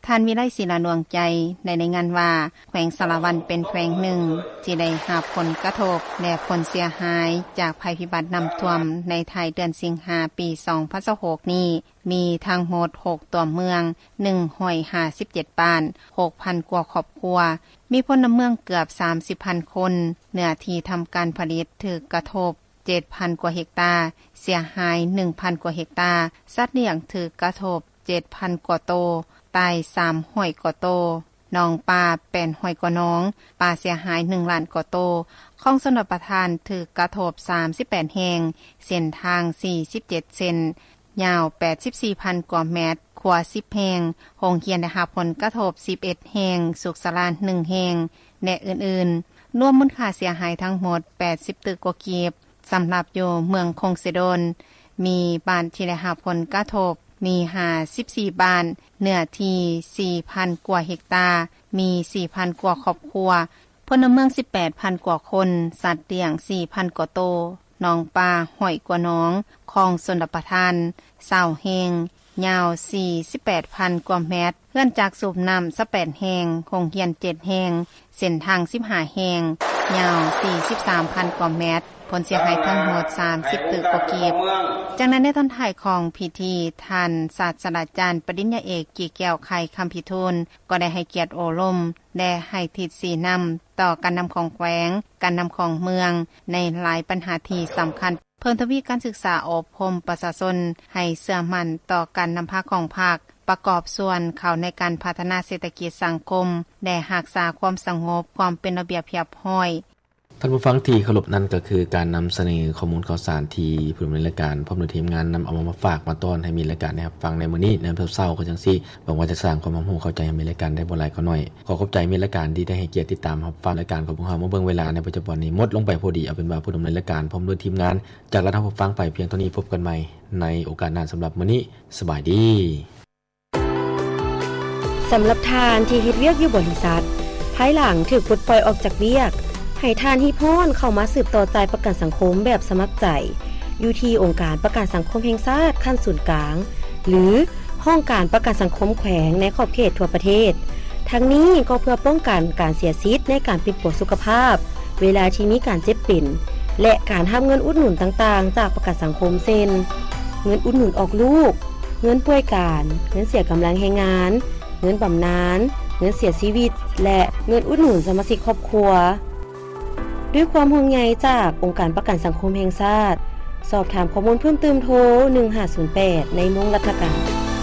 ທ່ານ ວິໄລ ສີລາດວງໃຈ ໄດ້ລາຍງານວ່າ ແຂວງສາລະວັນເປັນແຂວງໜຶ່ງທີ່ໄດ້ຮັບຜົນກະທົບ ແລະ ຜົນເສຍຫາຍຈາກໄພພິບັດນ້ຳຖ້ວມໃນທ້າຍເດືອນສິງຫາ ປີສອງພັນຊາວຫົກນີ້ ມີທັງໝົດຫົກຕົວເມືອງ, ໜຶ່ງຮ້ອຍຫ້າສິບເຈັດບ້ານ, ຫົກພັນກວ່າຄອບຄົວ, ມີພົນລະເມືອງເກືອບສາມສິບພັນຄົນ, ເນື້ອທີ່ທຳການຜະລິດຖືກກະທົບເຈັດພັນກວ່າເຮັກຕາ, ເສຍຫາຍໜຶ່ງພັນກວ່າເຮັກຕາ, ສັດລ້ຽງຖືກກະທົບເຈັດພັນກວ່າໂຕ, ຕາຍສາມຮ້ອຍກວ່າໂຕ. ໜອງປາ ແປດຮ້ອຍກວ່າໜອງ, ປ່າເສຍຫາຍ ໜຶ່ງລ້ານກວ່າໂຕ, ຄອງຊົນລະປະທານຖືກກະທົບ ສາມສິບແປດແຫ່ງ, ເສັ້ນທາງ ສີ່ສິບເຈັດເສັ້ນ, ຍາວ ແປດສິບສີ່ພັນກວ່າແມັດ, ຂົວ ສິບແຫ່ງ, ໂຮງຮຽນໄດ້ຮັບຜົນກະທົບ ສິບເອັດແຫ່ງ, ສຸກສາລາ ໜຶ່ງແຫ່ງ ແລະ ອື່ນໆ. ລວມມູນຄ່າເສຍຫາຍທັງໝົດ ແປດສິບຕື້ກວ່າກີບ. ສຳລັບຢູ່ເມືອງຄົງເຊໂດນ ມີບ້ານທີ່ໄດ້ຮັບຜົນກະທົບ ມີ ຫ້າສິບສີ່ບ້ານ, ເນື້ອທີ່ ສີ່ພັນກວ່າເຮັກຕາ, ມີ ສີ່ພັນກວ່າຄອບຄົວ, ພົນລະເມືອງ ສິບແປດພັນກວ່າຄົນ, ສັດລ້ຽງ ສີ່ພັນກວ່າໂຕ, ໜອງປາ ຮ້ອຍກວ່າໜອງ, ຄອງຊົນລະປະທານ ຊາວແຫ່ງ, ຍາວ ສີ່ສິບແປດພັນກວ່າແມັດ, ເຮືອນຈັກສູບນ້ຳ ຊາວແປດແຫ່ງ, ໂຮງຮຽນ ເຈັດແຫ່ງ, ເສັ້ນທາງ ສິບຫ້າແຫ່ງ, ຍາວ ສີ່ສິບສາມພັນກວ່າແມັດ, ຜົນເສຍຫາຍທັງໝົດ ສາມສິບຕື້ກວ່າກີບ. ຈາກນັ້ນ ໃນຕອນທ້າຍຂອງພິທີ, ທ່ານສາດສະດາຈານ ປະລິນຍາເອກ ກີແກ້ວ ໄຄຄຳພິທູນ ກໍໄດ້ໃຫ້ກຽດໂອ້ລົມ ແລະ ໃຫ້ທິດຊີ້ນຳຕໍ່ການນຳຂອງແຂວງ, ການນຳຂອງເມືອງ ໃນຫຼາຍບັນຫາທີ່ສຳຄັນ, ເພີ່ມທະວີການສຶກສາອົບຮົມປະຊາຊົນໃຫ້ເຊື່ອໝັ້ນຕໍ່ການນຳພາຂອງພັກ, ປະກອບສ່ວນເຂົ້າໃນການພັດທະນາເສດຖະກິດສັງຄົມ ແລະ ຮັກສາຄວາມສະຫງົບ, ຄວາມເປັນລະບຽບຮຽບຮ້ອຍ. ທ່ານຜູ້ຟັງທີ່ເຄົາລົບ, ນັ້ນກໍຄືການນຳສະເໜີຂໍ້ມູນຂ່າວສານທີ່ຜູ້ດຳເນີນລາຍການ ພ້ອມດ້ວຍທີມງານ ນຳເອົາມາຝາກມາຕ້ອນໃຫ້ມິດລາຍການໄດ້ຮັບຟັງໃນມື້ນີ້ ໃນວັນເສົາ ກໍຈັ່ງຊີ້ ຫວັງວ່າຈະສ້າງຄວາມຮັບຮູ້ເຂົ້າໃຈໃຫ້ມິດລາຍການໄດ້ບໍ່ຫຼາຍກໍໜ້ອຍ. ຂໍຂອບໃຈມິດລາຍການທີ່ໄດ້ໃຫ້ກຽດຕິດຕາມຮັບຟັງລາຍການຂອງພວກເຮົາມາເບິ່ງ. ເວລາໃນປັດຈຸບັນນີ້ໝົດລົງໄປພໍດີ. ເອົາເປັນວ່າຜູ້ດຳເນີນລາຍການພ້ອມດ້ວຍທີມງານ ຈາກລັດເຮົາກໍຟັງໄປພຽງເທົ່ານີ້. ພົບກັນໃໝ່ໃນໂອກາດໜ້າ. ສຳລັບມື້ນີ້ ສະບາຍດີ. ສຳລັບທ່ານທີ່ເຮັດວຽກຢູ່ບໍລິສັດ, ພາຍຫຼັງຖືກປົດປ່ອຍອອກຈາກວຽກ, ໃຫ້ທ່ານຮີບຮ້ອນເຂົ້າມາສືບຕໍ່ຈ່າຍປະກັນສັງຄົມແບບສະໝັກໃຈ ຢູ່ທີ່ອົງການປະກັນສັງຄົມແຫ່ງຊາດຂັ້ນສູນກາງ ຫຼື ຫ້ອງການປະກັນສັງຄົມແຂວງໃນຂອບເຂດທົ່ວປະເທດ. ທັງນີ້ກໍເພື່ອປ້ອງກັນການເສຍສິດໃນການປິ່ນປົວສຸຂະພາບ ເວລາທີ່ມີການເຈັບເປັນ ແລະ ການຮັບເງິນອຸດໜູນຕ່າງໆຈາກປະກັນສັງຄົມ ເຊັ່ນ ເງິນອຸດໜູນອອກລູກ, ເງິນປ່ວຍການ, ເງິນເສຍກຳລັງແຮງງານ, ເງິນບຳນານ, ເງິນເສຍຊີວິດ ແລະ ເງິນອຸດໜູນສະມາຊິກຄອບຄົວ. ດ້ວຍຄວາມຫ່ວງໃຍຈາກອົງການປະກັນສັງຄົມແຫ່ງຊາດ. ສອບຖາມຂໍ້ມູນເພີ່ມເຕີມໂທ ໜຶ່ງຫ້າສູນແປດ ໃນໂມງລັດຖະການ.